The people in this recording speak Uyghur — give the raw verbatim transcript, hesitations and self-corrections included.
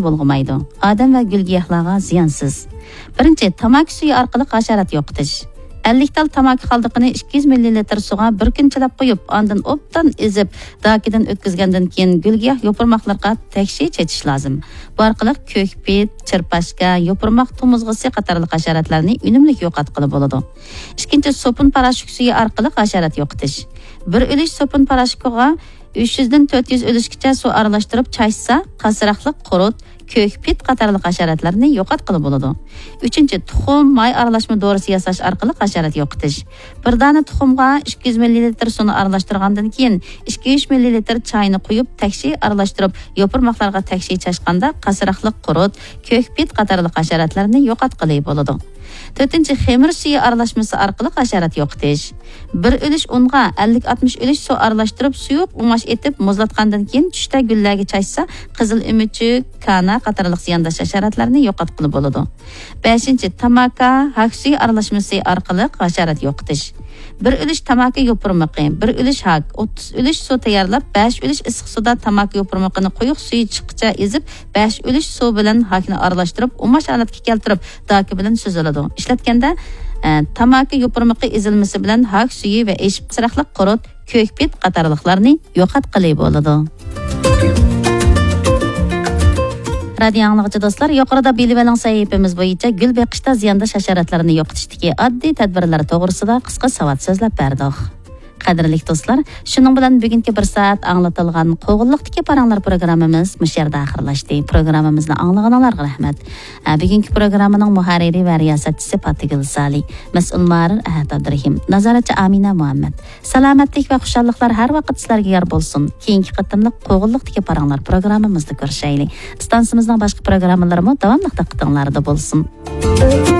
بۇلغىمايدۇ. ئادەم ۋە گۈل-گىياھلارغا زىيانسىز. بىرىنچى، تاماكا سۈيى ئارقىلىق ھاشارات يوقىتىش. ئەللىك تال تاماكا قالدۇقىنى ئىككى يۈز مىللىلىتىر سۇغا بىر كۈن چىلاپ قويۇپ، ئاندىن ئوبدان ئېزىپ، داكىدىن ئۆتكۈزگەندىن كېيىن گۈل-گىياھ يوپۇرماقلىرىغا تەكشى چېچىش لازىم. بۇ ئارقىلىق كۆكپىت، چىرپاشكا، يوپۇرماق تومۇزغىسى قاتارلىق ھاشاراتلارنى ئۈنۈملۈك يوقاتقىلى بولىدۇ. ئىككىنچى، سوپۇن پاراشوك سۈيى ئارقىلىق ھاشارات يوقىتىش. بىر ئۈلۈش سوپۇن پاراشوكىغا ئۈچ يۈزدىن تۆت يۈز ئۈلۈشكىچە سۇ ئارىلاشتۇرۇپ چاچسا، قاسراقلىق قۇرت، كۆكپىت قاتارلىق ھاشاراتلارنى يوقاتقىلى بولىدۇ. ئۈچىنچى، تۇخۇم، ماي ئارىلاشما دورىسى ياساش ئارقىلىق ھاشارات يوقىتىش. بىر دانە تۇخۇمغا ئىككى يۈز مىللىلىتىر سۇنى ئارىلاشتۇرغاندىن كېيىن، ئىككى يۈز مىللىلىتىر چاينى قۇيۇپ، تەكشى ئارىلاشتۇرۇپ، يوپۇرماقلارغا تەكشى چاچقاندا، قاسراقلىق قۇرت، كۆكپىت قاتارلىق ھاشاراتلارنى يوقاتقىلى بولىدۇ. تۆتىنچى، خېمىر سۈيى ئارىلاشمىسى ئارقىلىق ھاشارات يوقىتىش. بىر ئۈلۈش ئۇنغا ئەللىك ئاتمىش ئۈلۈش سۇ ئارىلاشتۇرۇپ، سۇيۇق ئۇماش ئېتىپ، مۇزلاتقاندىن كېيىن چۈشتە گۈللەرگە چاچسا، قىزىل ئۆمۈچۈك، كانا قاتارلىق زىيانداش ھاشاراتلارنى يوقاتقىلى بولىدۇ. بەشىنچى، تاماكا، ھاك سۈيى ئارىلاشمىسى ئارقىلىق ھاشارات يوقىتىش. بىر ئۈلۈش تاماكا يوپۇرمىقى، بىر ئۈلۈش ھاك، ئوتتۇز ئۈلۈش سۇ تەييارلاپ، بەش ئۈلۈش ئىسسىق سۇدا تاماكا يوپۇرمىقىنى قويۇق سۈيى چىققىچە ئېزىپ، بەش ئۈلۈش سۇ بىلەن ھاكنى ئارىلاشتۇرۇپ، ئۇماش ھالەتكە كەلتۈرۈپ، داكا بىلەن سۈزۈلىدۇ. ئىشلەتكەندە، ئە، تاماكا يوپۇرمىقى ئېزىلمىسى بىلەن ھاك سۈيى ۋە ئېشىپ قاسراقلىق قۇرت، كۆكپىت قاتارلىقلارنى يوقاتقىلى بولىدۇ. رادىيو ئاڭلىغۇچى دوستلار، يۇقىرىدا بىلىۋېلىڭ سەھىپىمىز بويىچە گۈل بېقىشتا زىيانداش ھاشاراتلارنى يوقىتىشتىكى ئاددىي تەدبىرلەر توغرىسىدا قىسقا ساۋات سۆزلەپ بەردۇق. قەدىرلىك دوستلار، شۇنىڭ بىلەن بۈگۈنكى بىر سائەت ئاڭلىتىلغان قوغۇنلۇقتىكى پاراڭلار پروگراممىمىز مۇشۇ يەردە ئاخىرلاشتى. پروگراممىمىزنى ئاڭلىغىنىڭلارغا رەھمەت. ھە، بۈگۈنكى پروگراممىنىڭ مۇھەررىرى ۋە رىياسەتچىسى پاتىگۈل سالى، مەسئۇل مۇھەررىر ئەھەت ئابدۇرېھىم، نازارەتچى ئامىنە مۇھەممەد. سالامەتلىك ۋە خۇشاللىقلار ھەر ۋاقىت سىلەرگە يار بولسۇن. كېيىنكى قېتىملىق قوغۇنلۇقتىكى پاراڭلار پروگراممىمىزدا كۆرۈشەيلى. ئىستانسىمىزنىڭ باشقا پروگراممىلىرىمۇ داۋاملىق دىققىتىڭلاردا بولسۇن.